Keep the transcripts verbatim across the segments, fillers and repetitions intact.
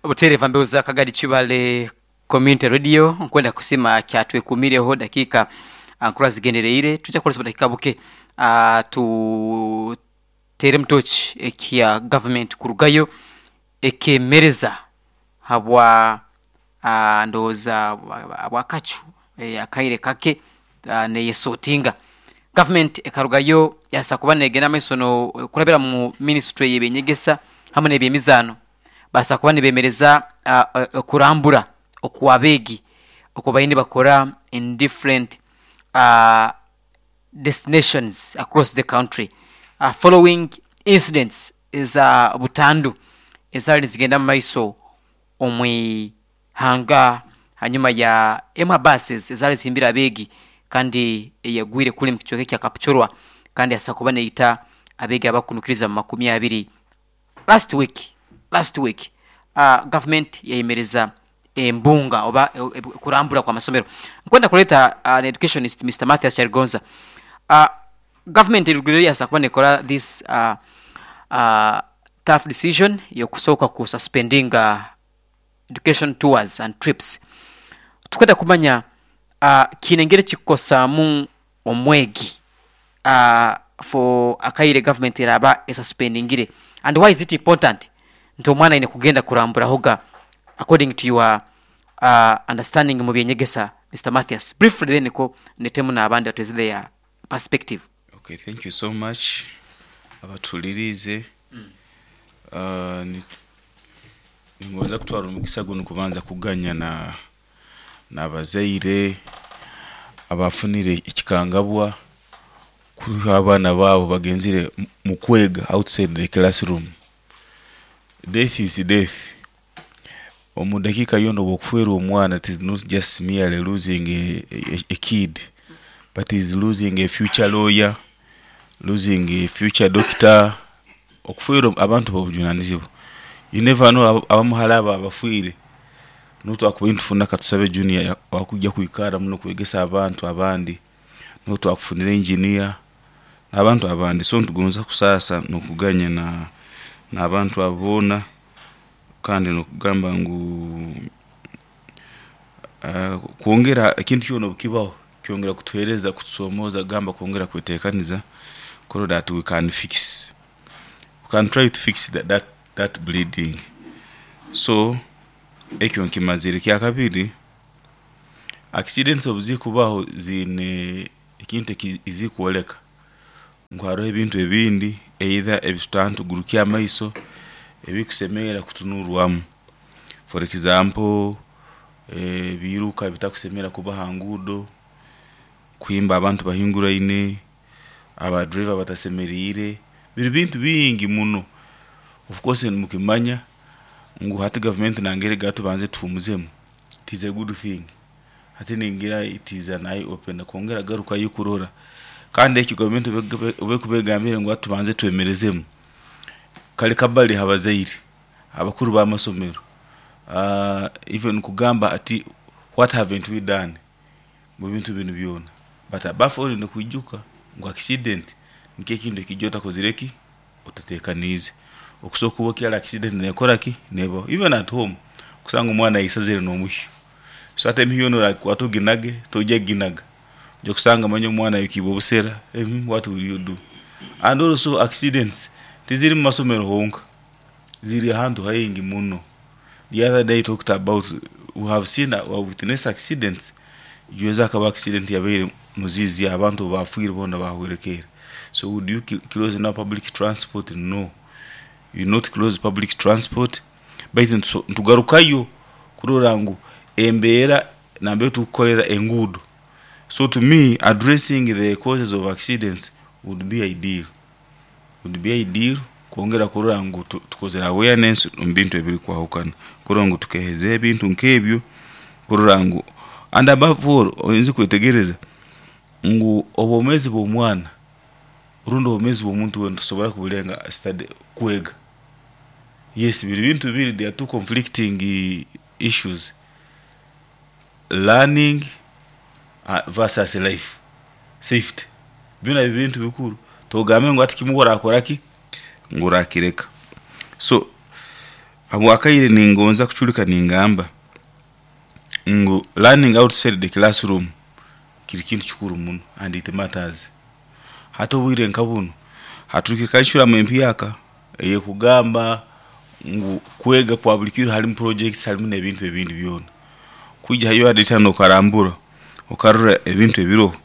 Obuteereva mbeho za Kagadi Kibale Community Radio. Nkwenda kusima kyatwekumireho dakiika nkura zigendereire. Tujja kukozesa obudakiika buke uh, tuteere mutoki ekya government kurugayo ekemereza habwa uh, ndowooza bwakacu eh, akaire kake uh, neyesotinga government ekarugayo yasa kuba negenda maiso no kurabira mu ministry y'ebyenyegesa hamwe n'ebyemizaano, basa kuba nibemereza uh, uh, kurambura okwabeegi okwo baine bakora in different uh, destinations across the country uh, following incidents eza butandu ezaali nizigenda mu maiso omwihanga hanyuma ya emwe buses ezaali zihimbire abeegi kandi eyagwire kuli mu kicweka ekya Kapchorwa kandi yasa kuba neita abeegi abakunukiriza mu makumi abiri last week last week uh, government yayemereza embunga oba e, e, kurambura kwa masomero. Nkwenda kuleta uh, an educationist, Mister Mathias Charigonza. uh, government erugire yasa kuba nekora this uh, uh, tough decision yokusooka ku suspending uh, education tours and trips. Tukwenda kumanya uh, kiine engeri kikukosaamu omwegi uh, for akaire government eraba esuspendingire, and why is it important nti omwana aine kugenda kuramburahoga, according to your uh, understanding mu byenyegesa, Mister Mathias, briefly, then niko netemu n'abandi batweze their perspective. Okay, thank you so much. Abatulirize, uh, ni- ningoza kutwara omukisa guno kubanza kuganya na n'abazaire abafunire ekikangabwa kuha abaana baabo bagenzire mu- mu kwega outside the classroom. Death is death. Omu dakiika yona obwokufeerwa omwana, it is not just merely losing a, a, a kid, but is losing a future lawyer, losing a future doctor. Okufeerwa abantu bobujunanizibwa, you never know. aba- abamuhara abo abafiire notwakuba nitufuna katusabe junior ya- wakujja kwikara muno kwegesa abantu abandi, notwakufunira engineer n'abantu abandi. So nitugonza kusaasa nokuganya na n'abantu abo boona, kandi nokugamba ngu uh, kwongera ekintu kyona obukibaho kyongera kutuhereza kutusomooza gamba kwongera kwetekaniza kurora that we can fix we can try to fix that, that, that bleeding. So ekyo nkimazire. Kyakabiri, accidents obuzikubaho ziine ekintu ekizikwoleka ngu hariho ebintu ebindi either ebitutantugurukya amaiso ebikusemerera kutunurwamu. For example, ebiruka bitakusemera kuba ha nguudo, kuhimba abantu bahinguraine, abadriver batasemeriire, biri bintu bingi muno. Of course nimukimanya ngu hati gavumenti nangere gatubanze tuhumuzemu. It is a good thing. Hati ningira it is an eye opener kwongera garukayo kurora. Kandi ekyo gavumenti obekubegambire ngu hati tubanze twemerezemu, kale kabali habazaire abakuru b'amasomero, uh, even kugamba ati, "What haven't we done mu bintu binu byona?" But above all, nikwijuka ngu accident nikyo ekintu ekijja otakozire ki, otatekaniize. Okusobola kuba okyali accident nekora ki, nebaho even at home, kusanga omwana yisazire n'omuhyo. So ate emihyo yoona orakwata oginage, tojja ginaga, ojja kusanga manya omwana ayokibwe obusera. mm, what will you do? And also accidents tiziri mu masomero honka, ziri ahantu haingi muno. The other day talked about, we have seen, we have witnessed accidents. Juweza akaba accident yabaire muzizi, abantu bafiire bona bahwerekeire. So would you close now public transport? No, you not close public transport, baitu ntugarukayo kurora ngu embeera nambere tukukorera enguudo. So to me, addressing the causes of accidents would be ideal would be ideal kwongera kurora ngu tukozere awareness omu bintu ebirikwahukana, kurora ngu tukeheza ebintu nk'ebyo, kurora ngu, and above all, oyinza kwetegereza ngu obwomeezi bw'omwana rundi obwomeezi bw'omuntu wena tusobora kubulenga study, kwega. Yes, biri bintu bibiri, there are two conflicting issues, learning uh, versus life safety. Byona biri bintu bikuru, togambe ngu ati kimwe orakora ki ngu orakireka. So Habwakaire ningonza kuchulika ningamba ngu learning outside the classroom kiri kintu kikuru muno and it matters. Hati obwire nka buno haturukire curriculum empyaka eyekugamba ngu kwega kwa buli kiro harimu projects, harimu n'ebintu ebindi byona. Kwija hayo adetano okarambura okarora ebintu ebiroho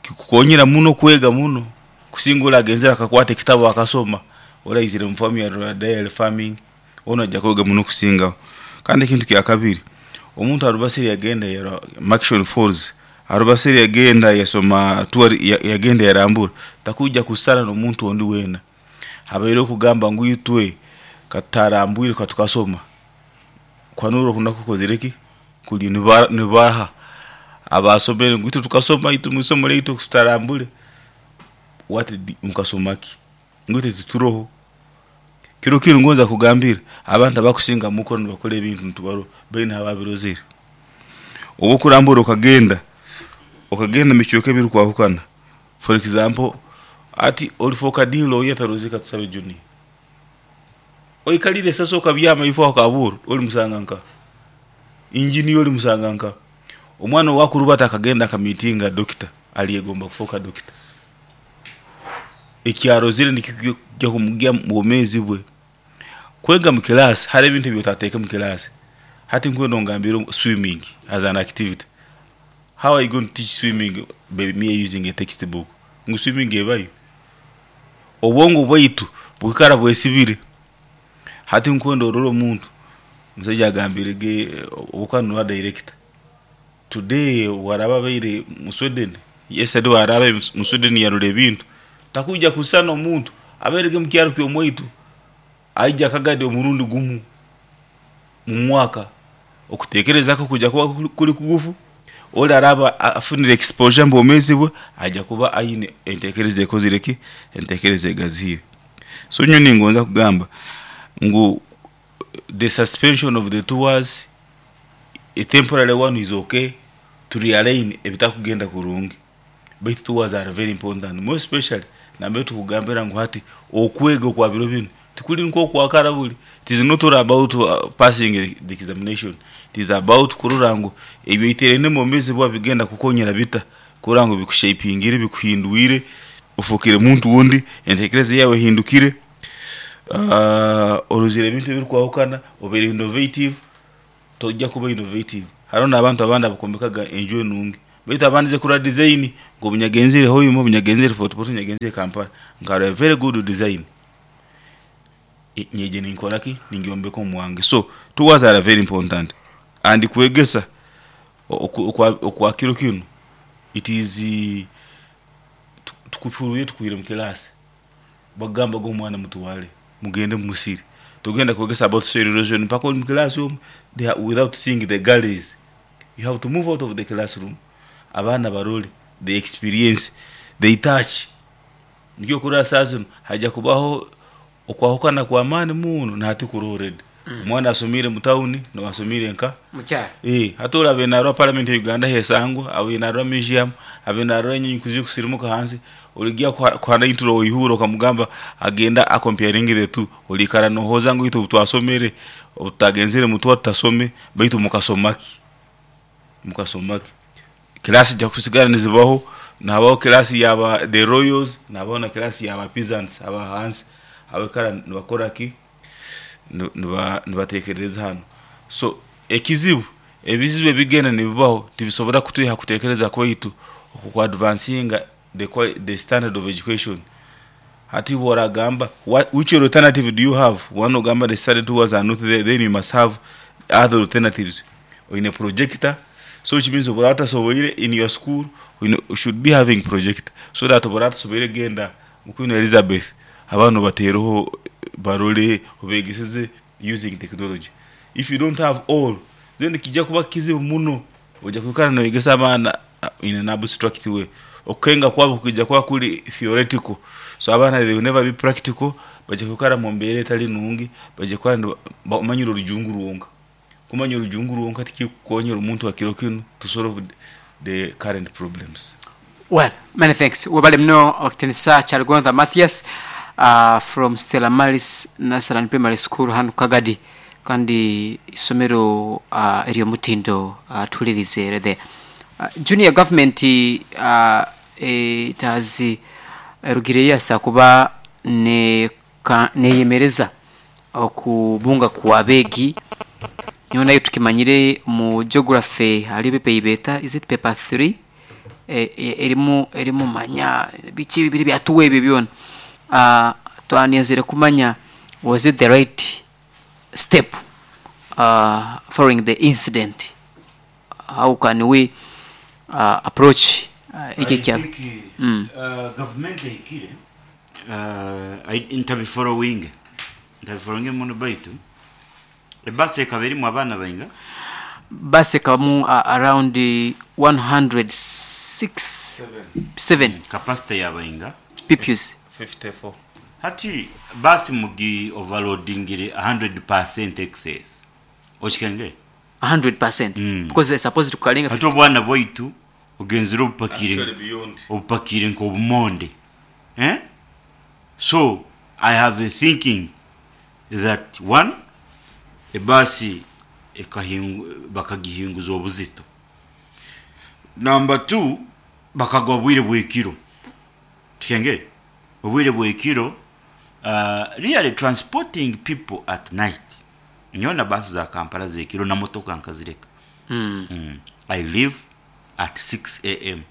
kikukonyera muno kwega muno kusinga agenzera akakwata ekitabo akasoma oraizire mu farm ya dairy farming ono ajja kwega muno kusingaho. Kandi ekintu kya kabiri, omuntu arubasire yagenda ya Murchison Falls, arubasire yagenda yasoma tour, yagenda yarambura, takujja kusara n'omuntu ondi wena. Habaire okugamba ngu itwe katarambwire katukasoma kwanuro kuna kukozireki kuli nibaha abasomere ngu itwe tukasoma, itwe musomo leitu tutarambule what mukasomaki ngu itwe tuturoho. Kiro kiro ngonza kugambira abantu abakusinga mukono bakora ebintu ntubaro bene hababirozere. Obo kurambura okagenda okagenda michoke biri kwahukana. For example, ati olifoka dilo yatarozeka tusabe juni oikalire sasa okabyama ifo akaburu oli musanganka engineer oli musanganka omwana wakurubata akagenda akamitinga doctor aliyegomba kufoka doctor ekyarozire nikijja kumugia mwomezi bwe. Kwega mu class hari ebintu byotateka mu class. Hati nkwendo ngambira swimming as an activity. How are you going to teach swimming by me using a textbook? Ngu swimming ebayo obwongo bwaitu bukara bwesibire. Hati nkwendo ororo omuntu musajja agambire ge obukano wa director today waraba baire mu Sweden, yesterday waraba mu Sweden yarule ebintu takuja kusana omuntu aberege mu kyaro kyo mwaitu aija kagade omurundi gumu mu mwaka okutekereza ko kujya kuba kuri kugufu ora araba afunire exposure mbomezi bwe aja kuba ayine entekereze kozireki entekereze gazihire. So nyoni ngonza kugamba ngu the suspension of the tours, a temporary one is okay to realign ebitakugenda kurungi, but tours are very important, more especially nambe tukugambira ngu hati okwega kwa biro bino tikuli nko kwakara buli. It is not all about uh, passing the examination, it is about kurora ngu ebyo iterene mu mezi bwa bigenda kukonyera bita kurora ngu bikushapingire bikuhindwire ufukire muntu wundi entekereze yawe hindukire, uh, oruzire ebintu ebirikwahukana obere innovative tojja kuba innovative. Hariho n'abantu abandi abakombekaga enju enungi baitu abandize kura design ngo bunyagenzire hoyimo bunyagenzire Fort Portal bunyagenzire Kampala nkara very good design nyeje ninkoraki ningiombeko mwange. So tours are very important and kwegesa okwa kiro kino it is tukufuruye tukuire mu class bagamba go mwana mutuwale mugende musiri tugenda kwegesa about soil erosion mpaka mu classroom they are, without seeing the galleries. You have to move out of the classroom, abana barole they experience they touch. Nikyo kura sasa haja kubaho okwahukana kwa amani muno na hati kurored omwana mm. asomire mu town no asomire nka mukyaro eh hatora benarwa parliament ya Uganda hesangwa abe narwa museum abe narwa nyinyi kuzi kusirimuka hansi oligia kwa intro oyihuro kamugamba agenda acomparing the two olikara no hoza ngo itu twasomere utagenzere mutwa tutasome baitu mukasomaki mukasomaki class ja kusigara nizibaho nabaho class yaba the royals nabaho na class yaba peasants aba hansi abakara nibakora ki niba nibatekereza hano. So ekizibu ebizibu ebigenda nibibaho tibisobora kutwiha kutekereza kwaitu okwa advancing the the standard of education. Hati boragamba which alternative do you have? One ogamba the study tours are not there, then you must have other alternatives in a projector. So which means oborata soboire in your school you should be having projector so that oborata soboire genda Queen Elizabeth abantu bateroho barole obegeseze using technology. If you don't have all then kijja kuba kizibu muno ojja kukana no egesa abaana in an abstract way okenga kwabo kujja kwa kuli theoretical so abaana they will never be practical bajja kukara mu mbere etali nungi bajja kukara bamanyira orujungu ruwonka kumanya orujungu ruwonka tikikonyera omuntu akiro kino to solve the current problems. Well, many thanks. Wabale mno wakitinisa Kyaligonza Mathias. uh, from Stella Maris Nasaran Primary School hano Kagadi, kandi isomero uh, ery'omutindo uh, tulirize there. Uh, junior government uh, etazi erugire yasa kuba ne ka, neyemereza okubunga kwa begi niho nayo tukimanyire mu geography hali pepa ibeta, is it paper three? e, e, erimu erimu manya biki bibiri byatuwe ebyo byona. uh, twaniyazire kumanya, was it the right step uh, following the incident? How can we uh, approach uh, iki kya Mm. Uh, government ehikire uh, ntabifollowing ntabifollowing muno, baitu ebasi ekaba erimu abaana bainga? Basi ekabamu uh, around one hundred six seven. Capacity yabainga? Pupils. fifty-four. Hati basi mugi overloadingire one hundred percent excess, okikenge? one hundred percent. Mm. Because they're supposed to kalinga. Hati obwana bwaitu ogenzire obupakire Actually beyond. Obupakire nk'obumonde, eh? So I have a thinking that one, ebasi ekahingu- bakagihinguza obuzito. Number two, bakagwa bwire bwekiro, tikenge obwire bwekiro. uh, really transporting people at night, nyona basi za Kampala zekiro na motoka nkazireka. mm. mm. I leave at six a m.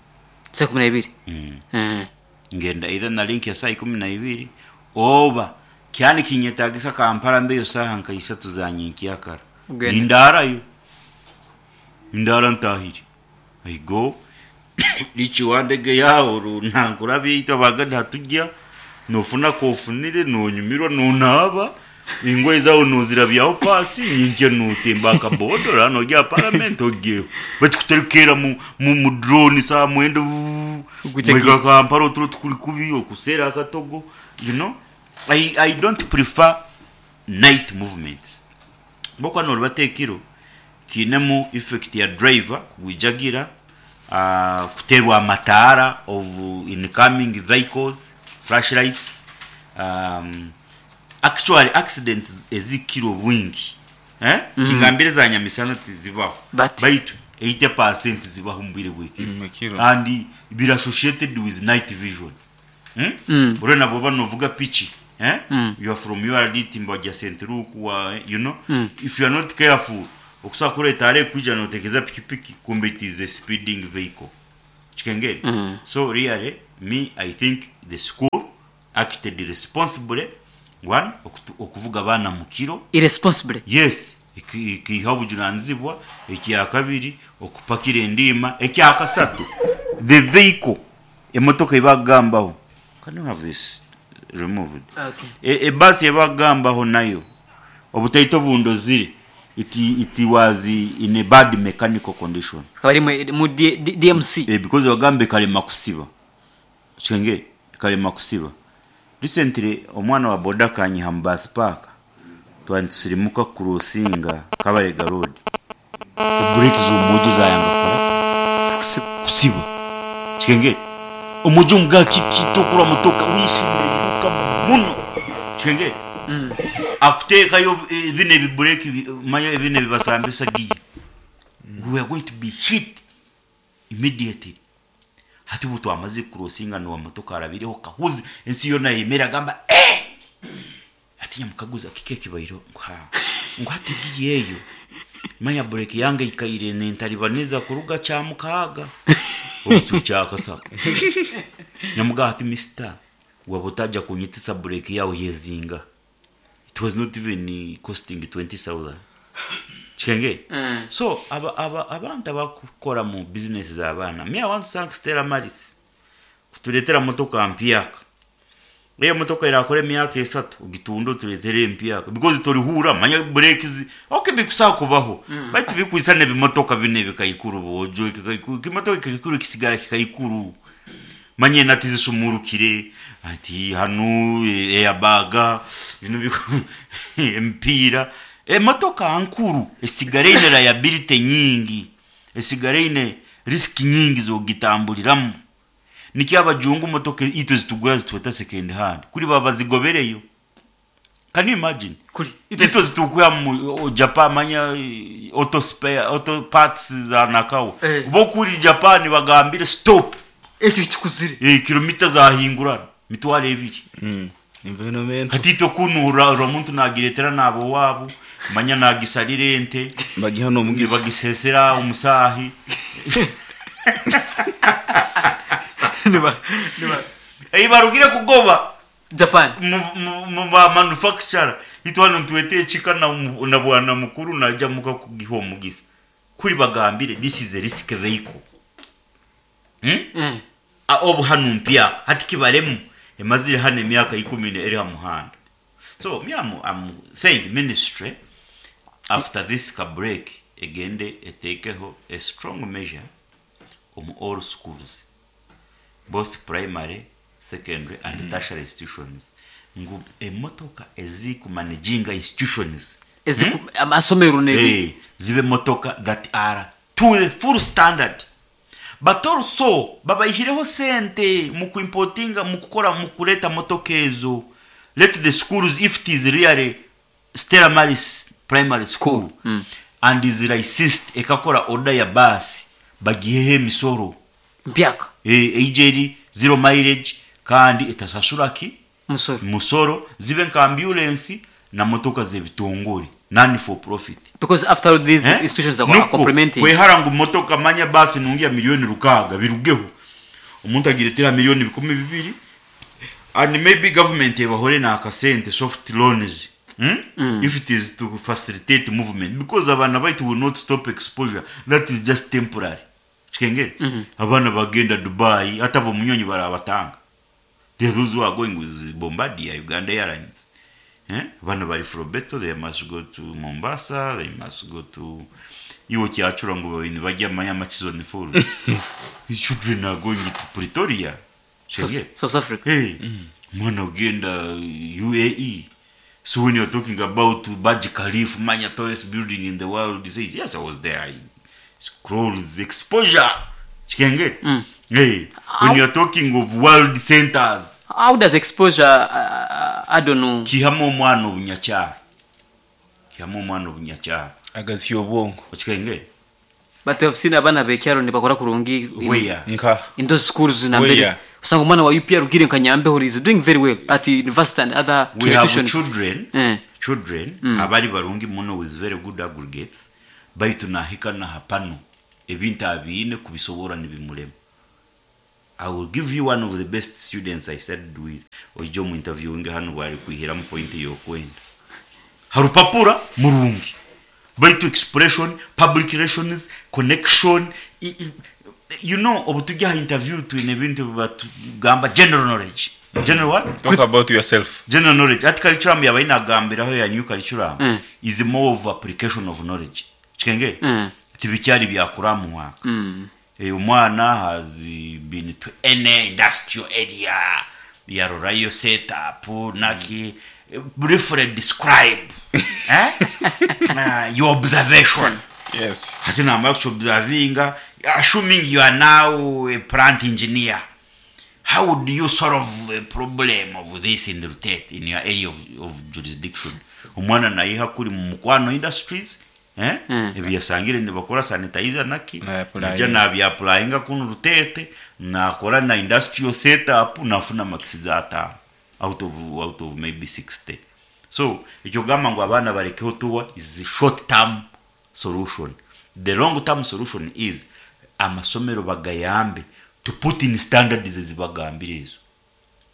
Saa kumi na ibiri. mm. Eh. Ngenda either na link ya saa ikumi na ibiri oba kyani kinyetagisa Kampala mbeyo saha nka isatu za nyinkiyakara. Ugenda. Nindarayo, ndara ntahire, I go lichiwandege yaho runangura biita baganda hatujya nofuna kofunire nonyumirwa nonaba ingoye zawo nozirabyaho pasi nyinje nutemba akabodora nogya parliament ogyeho bakikuterekera mu, mu, mu drone saa mwenda. Guca. Mwega Kampala oturo tukuri kubi okusera akatogo. you know I, I don't prefer night movements bokwa noribatekiro kinemu effect ya driver kugwijagira, uh, kuterwa amataara of incoming vehicles, flashlights. um, actually accidents ezikiro bwingi, eh? mm. Kingambire za nyamisana tizibaho. But- Baitu eighty percent zibaho mu bwire bw'ekiro. Mm, ekiro. And biri associated with night vision, hmm? Mm. Urabona boba novuga pichi, eh? Mm. You are from U R D timba wajya Centruku wa, you know Mm. if you are not careful, okusa kureta are kuja notekeza pikipiki, kumbe it is a speeding vehicle, chikengeri. Mm. So really, me, I think the school acted responsibly. One, okutu- okuvuga abaana mu kiro. Irresponsibly. Yes, iki- ikiha obujunanizibwa. Ekyakabiri, okupakira endiima. Ekyakasatu, the vehicle, emotoka ebagambaho. Can you have this removed? Okay. E- ebasi ebagambaho nayo obutaito bundozire, it, it was in a bad mechanical condition. Akaba ari mu- mu D- D- DMC. Eh, because wagambe kalema kusiba, chenge kalema kusiba. Recently omwana wa boda kanyiha mu bus park, twantusirimuka kurusinga Kabarega Road, brake z'omuju zayanga kola Kusiba. Kusiba, chikenge omuju mga kikitokura motoka wishimye yiruka muno, chikenge Mm. akuteekayo eh, bino ebibureki, manya bino ebibasambisa giya, we are going to be hit immediately. Hati ubu twamaze kurosinga nuwa motoka arabiriho kahuzi ensi yona yemera agamba, eh ati nyamukaguza kike kibairo ngo ngo hati giyeyo manya bureki yange ikaire nentalibaniza kuruga kya mukaaga obusiku kyakasatu. Nyamuga ati, "Mister, waba otajja kunyitisa bureki yawe yezinga." It was not even costing twenty thousand, kikenge. Mm. So aba, aba, abantu abakukora mu business z'abaana, me, I want to thank Stella Maris kutuleetera motoka mpyaka. Eyo motoka erakora emyaka esatu ogitunda otuleetere empyaka because torihura manya brake zi okay bikusaa kubaho mm. Baitu bikwisa nebimotoka bine bikaikuru bojo kikaikuru kimotoka kikaikuru kisigara kikaikuru manye nati zisumurukire ati hanu airbag bino biku- empiira emotoka nkuru esigara eine liability nyingi, esigara eine risk nyingi zogitambuliramu. Nikyo abajungu motoka itwe zitugura zitweta second hand kuri baba bazigobereyo. Can you imagine? Kuri Itwe zitukuya mu o- Japan, manya eh, auto spare, auto parts za nakawa. Eh. Bo kuri Japan bagambire stop. Ekyo kikuzire. Eh, kilomita zahingurana mitwaro ebiri. Mm. Environment. Hati itwe kunura ura muntu nagiretera nabo wabo, manya nagisarira ente. Bagiha n'omugisa. Bagisesera omusahi. Niba niba Ei, barugire kugoba Japan. mu- mu mu ba manufacturer. Itwe hano ntwete ekika na mu- na bwana mukuru najya muka kugiha omugisa kuri bagambire this is a risk vehicle, hmm? Mm. A- obu hano mpyaka hati kibaremu emazire hano emyaka ikumi eri ha muhanda. So me, I'm, I'm saying ministry, after this ka break, egende etekeho a strong measure omu all schools, both primary, secondary and mm. tertiary institutions, ngu emotoka ezikumanaginga institutions Eziku- amasomero ne Eh, zibe motoka that are to the full standard, but also babayihireho sente mu kuimportinga, mu kukora, mu kuleta motoka ezo. Let the schools, if it is really Stella Maris Primary School mm. and is licensed, ekakora order ya basi, bagiheho emisoro. Mpyaka. Eh, ejeri zero mileage kandi etasasura ki? Musoro. Musoro. Zibe nka ambulance na motoka z'ebitongore, none for profit. Because after all, these Eh? institutions are Nuko, complementing. kwehara ngu motoka, manya basi nungi ya miliyoni rukaga birugeho, omuntu agiretera miliyoni bikumi bibiri, and maybe government ebahore nakasente, soft loans, hmm? mm. if it is to facilitate movement, because abaana baitu will not stop exposure. That is just temporary, kikengere. mm -hmm. Abaana bagenda Dubai, hata bomunyonyi barabatanga. There are those who are going with Bombardier, Uganda Airlines, eh? Abaana bari Frobeto, they must go to Mombasa, they must go to iwo kyacura ngo bintu bajya Mayama season four. His children are going to Pretoria. South, Chenge. South Africa. Hey, mwana ugenda U A E. So when you're talking about Burj Khalifa, manya tallest building in the world, he says, "Yes, I was there." I scrolls exposure. Chikenge. Mm. Hey, when you're talking of world centers, How does exposure uh, I don't know. Kihamu omwana obunyakyaro. Kihamu omwana obunyakyaro. Agazya obwongo. Okikenge? But I've seen abaana bekyaro nibakora kurungi in, Where? Nka in those schools nambere. Where? Usanga omwana wa U P R ugire nka Nyambeho is doing very well at university and other We have institutions. children, Eh. children abari barungi muno with very good aggregates, baitu nahika na hapano ebintu abiine kubisobora nibimulema. I will give you one of the best students I studied with. Oija omu interviewing hano bwari kwihiramu point yokwenda harupapura murungi, baitu expression, public relations, connection, i, i, you know obu tujya aha interview twine ebintu batugamba general knowledge. General what? Talk about yourself. General knowledge. Ati curriculum yaba inagambiraho ya new curriculum Mm. is more of application of knowledge, kikengere. Mm. Tibikyari byakura mwaka. Mm. Eh, omwana has been to any industrial area, yarorayo setup naki, briefly describe, eh? uh, your observation. Yes. Hati namara kuobservinga, assuming you are now a plant engineer, how would you solve a problem of this in the state, in your area of, of jurisdiction? Omwana nayiha kuri mu Mukwano Industries, eh? Mm. Ebyasangire nibakora sanitizer naki. Na-applying. Naja nabyapplyinga kuno Rutete, nakora na industrial setup, nafuna marks za atano out of, out of maybe sixty. So ekyo gamba ngu abaana barekeho tuwa is a short term solution. The long term solution is amasomero bagayambe to put in standards ezibagambire ezo,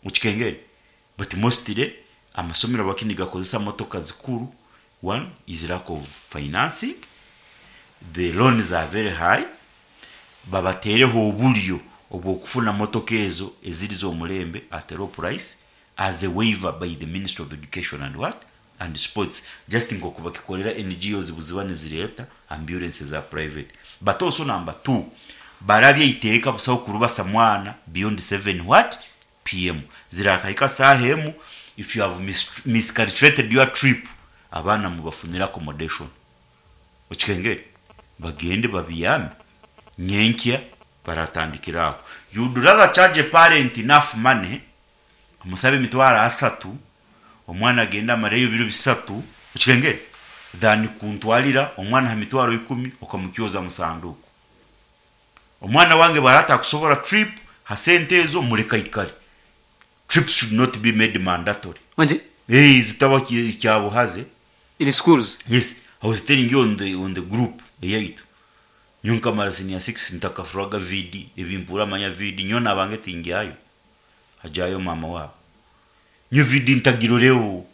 ukikengere. But mostly amasomero bakini gakozesa motoka zikuru. One is lack of financing, the loans are very high. Babateereho obulyo obwokufuna motoka ezo eziri z'omulembe at a low price as a waiver by the Ministry of Education and what and Sports, just nkoku bakikolera N G Os buziba nizireeta ambulance za private. But also number two, barabye iteeka busaho kurubasa mwana beyond seven what p m, zirakahika saaha emu. If you have mis miscalculated your trip, abaana mubafunire accommodation, okikengere, bagende babiyame nyenkya. Baratandikira aho. You'd rather charge a parent enough money, omusabe emitwaro asatu, omwana agenda amareyo ebiro bisatu, okikengere, than kuntwarira omwana ha mitwaro ikumi okamukyoza mu sanduku. Omwana wange bwarata kusobora trip ha sente ezo, mureka ikare. Trips should not be made mandatory. Wanje? Eh, zitaba ki- kyabuhaze. In schools? Yes, I was telling you on the on the group eyaitu. Nyo nkamara senior six ntakafuraga V D, ebimpura manya V D nyo nabange tingyayo. Hajayo mama wabo. Nyo V D ntagiroreo.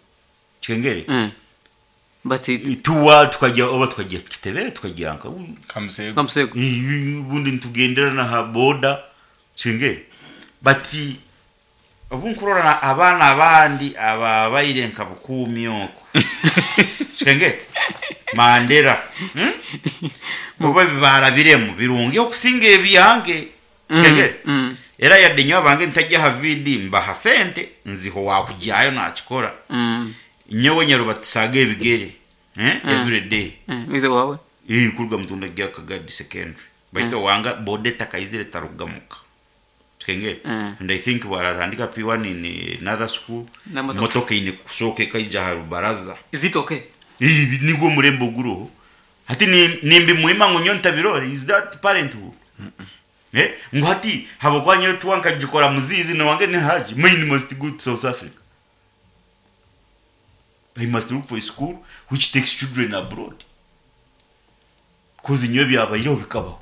Kikengere. Mm. But it, Tuwa tukajya oba tukajya Kitebere, tukajya nka Kamusego. Kamusego. Ubundi nitugendera na ha boda, kikengere. But obu nkurora abaana abandi ababaire nka bukuumi okwo, kikengere, Mandera, hmm? Oba bibarabiremu birungi okusinga ebyange, kikengere. Mm. Era yadde nyo abange ntajja ha V D, mbaha sente nziho wakujyayo nakikora. Mm. Nyowe nyarubatisaaga ebigere, eh? Every day. Mm. Wize wawe? Ii, kuruga Mutunda gya Kagadi Secondary, baitu wanga boda etakaizire tarugamuka, kikengere. Mm. And I think baratandika P one in another school. Na motoka. Motoka ine kusooka ekaija ha rubaraza. Is it okay? Ii, nigwo murembe oguroho hati ni- nimbi muhima ngu nyo ntabirore. Is that parenthood? Eh, ngu hati habwokuba nyowe tuwa nkagikora muzizi nowange ni haji, mine must go to South Africa, I must look for a school which takes children abroad 'cause nyowe byabaireho bikabaho.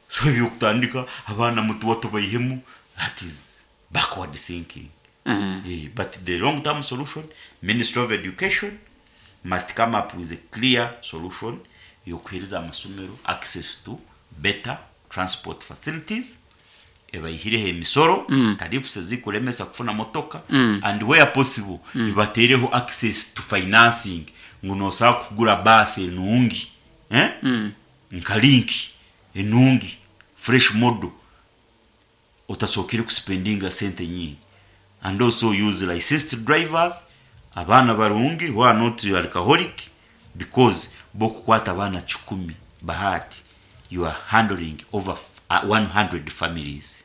So ebyokutandika abaana mutuwa tubaihemu, that is backward thinking. Mm. Eh, but the long term solution, Ministry of Education must come up with a clear solution yokuhereza amasomero access to better transport facilities, ebaihireho emisoro, mm. tariffs ezikulemesa kufuna motoka, mm. and where possible, mm. ibatereho access to financing ngu nosobola kugura baasi enungi, eh? mm. nka Link enungi, fresh model, otasokere kuspendinga sente nyingi, and also use licensed drivers, abaana barungi who are not alcoholic, because bokukwata abaana kikumi, bahati, you are handling over f- uh, one hundred families.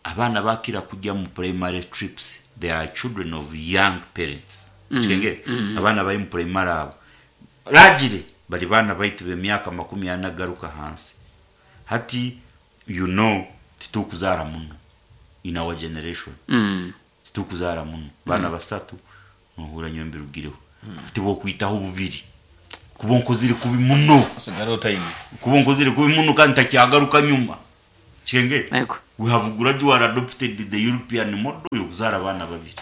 Abaana bakira kujya mu primary trips, they are children of young parents, mm. kikengere. mm. Abaana bari mu primary abo largely bari baana baitu b'emyaka makumi ana garuka hansi. Hati you know titukuzaara muno in our generation. Mm. Titukuzaara muno baana basatu nohura nyo mbirugireho ati bokwitaho bubiri kuba nkozire kubi muno. Osigara time. Kuba nkozire kubi muno kandi takyagaruka nyuma, kikengere. Yego. We have gradually adopted the European model yokuzaara abaana babiri.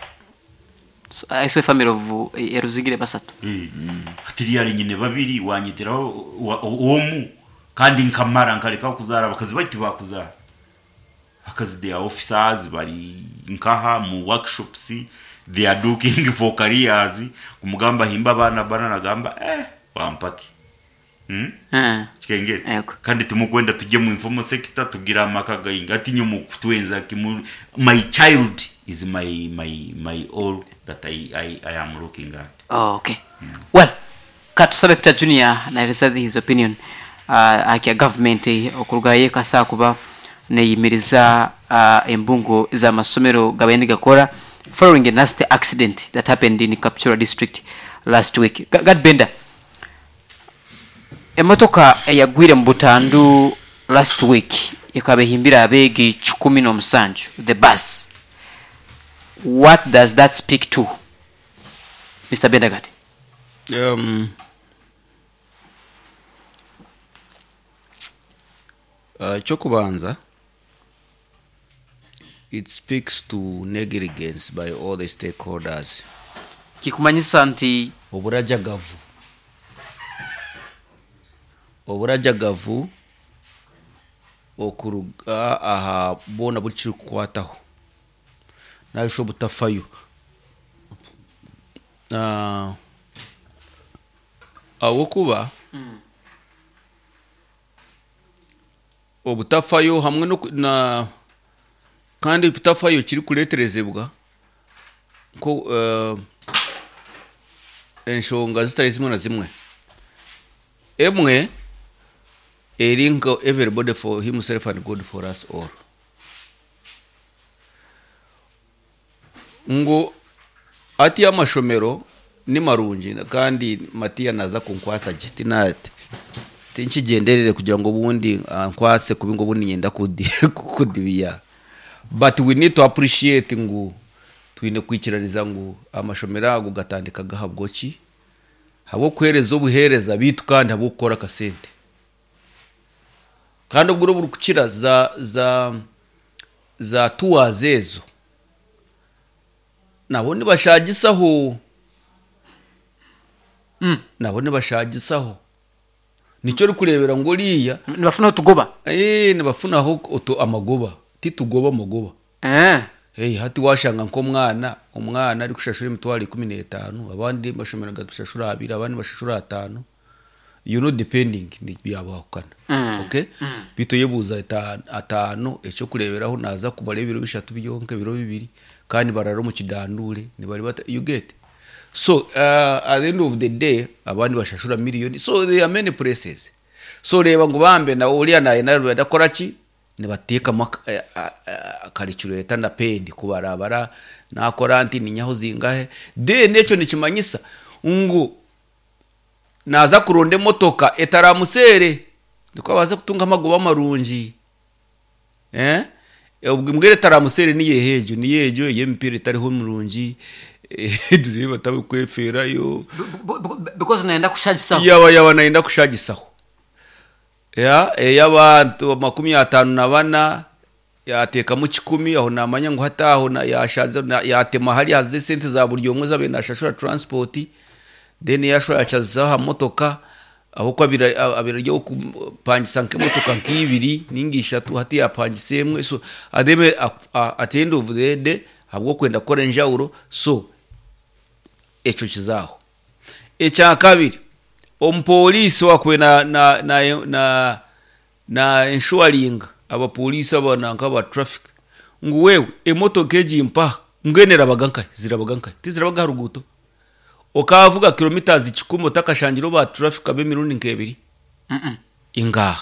So, I saw a family of uh, eruzigire basatu. Eh, ati ryari nyine babiri wanyitiraho wa- omu kandi nkamara nkareka kuzaara abakazi baitu bakuzaara. Abakazi, they are officers, bari nkaha mu workshops, they are looking for careers. Kumugamba himba abana bana, nagamba eh wampaki, hmm? Eh. Kikengere. Yego. Kandi tumukwenda tujye mu informal sector tugira amaka gainga ati nyo kutwenza kimu. My child is my my my all that I, I, I am looking at. Oh, okay. Well, katusabe Peter Junior naeleza his opinion uh, akya government okurugayo kasa kuba neyimiriza uh, embungo z'amasomero gabaine gakora following a nasty accident that happened in Kapchorwa District last week. Ga- Gad Benda, emotoka eyagwire mu butandu last week ekaba ehimbire abeegi kikumi n'omusanju, the bus, what does that speak to, Mister Bendagad? Um, uh, ekyokubanza, it speaks to negligence by all the stakeholders. Kikumanyisa nti Oburajagavu, oburajagavu okuruga aha boona buri kirikukwataho nabisha obutafayo. Ah, ahabwokuba obutafayo hamwe n'oku- na kandi obutafayo kirikureeterezebwa nko eh, enshonga zitari zimwe na zimwe. Emwe, Eri nka everybody for himself and God for us all. Ngu ati amashomero ni marungi, kandi Matiya naza kunkwasa gye, tina tinkigyenderere kugira ngu obundi ankwatse kubi, ngu obundi niinyenda kudi- kudibiya, but we need to appreciate ngu twine kwikiraniza ngu amashomero ago gatandika gahabwa ki? Habw'okuheereza obuheereza biitu, kandi habw'okukora akasente. Kandi obwire oburikukira za za za tours ezo nabo nibashagisaho. Mm. Nabo nibashagisaho, nikyo orikureebera ngu oriya Nibafuna otugoba. Eh, nibafunaho otu amagoba, titugoba, amagoba. Eh. Hey, hati washanga nk'omwana, omwana ari kushashura emitwaro ikumi n'etaano, abandi bashomero gashashura abiri, abandi bashashura ataano, you know depending, byabahukana. Mm. Okay, bitu yebuuza ata- ataano, ekyokureeberaho, naza kumara ebiro bishatu byonka, ebiro bibiri, kandi barara omu kidandure nibari bata, you get? So uh, at the end of the day abandi bashashura miliyoni. So there are many places. So reba ngu bambe na uriya naye nawe badakora ki, nibateekamu akarecureta na pendi kubarabara, nakora nti ninyaho zingahe. Then ekyo nikimanyisa ngu naza kuronda emotoka etaramuseere, niko abaase kutunga amagoba marungi. Eh, obwo mbwira etaramuseere niyo egyo, niyo egyo ey'emipiira etariho mirungi, dureba tabikweferayo. B- b- because naenda kushagisaho. yaba yaba nayenda kushagisaho ya ey'abantu makumi atanu na bana, yateekamu kikumi aho, namanya ngu hati aho na- yashaze na- yatema hari haze esente za buri omwe zabaire nashashura transport, then yashora yachazizaho aha motoka, aho abira abira ryo kupangisa nk'emotoka nk'ibiri ninga ishatu, hati yapangisa emwe. So ademe at the end of the day, habw'okwenda kukora enjawulo, so ekyo kizaho. Ekya kabiri, omupoliisi wakwe na na na na na inshuwaringa abapoliisi abana nk'aba traffic, ngu wewe emotoka egi mpaha, mbwenu erabaga nkahe, zirabaga nkahe? Tizirabaga aha ruguuto, okavuga kilometers kikumi otakashangire ba traffic ab'emirundi nk'ebiri. Mm-mm. Ingaha.